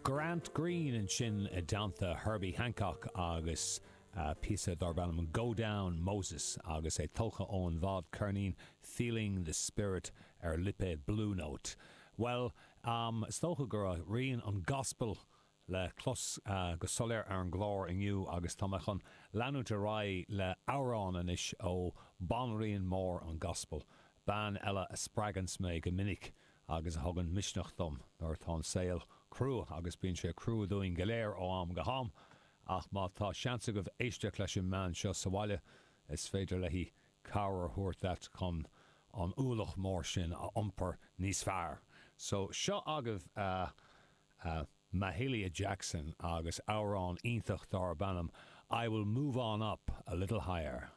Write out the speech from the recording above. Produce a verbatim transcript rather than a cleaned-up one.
Grant Green ansin i dteannta Herbie Hancock agus uh, píosa darb ainm Go Down Moses agus é tógtha ón bhfadcheirnín Feeling the Spirit ar lipéad Blue Note. Well, um, is dócha go raibh rian an gospel le clos uh, go soiléir ar an gclár inniu agus tá chun leanúint ar aghaidh le amhrán anois ó banríon mór an gospel. Bean eile a spreagann mé go minic agus a thugann misneach dom nuair atá an saol crua agus bíonn sé crua dúinn go léir ó am go ham, ach má tá seans agaibh éisteacht leis an mbean seo sa bhaile is féidir léi cabhair a thabhairt duit chun an ualach mór sin a iompar níos fearr. So seo agaibh uh, uh, Mahalia Jackson agus amhrán iontach darb ainm I will move on up a little higher.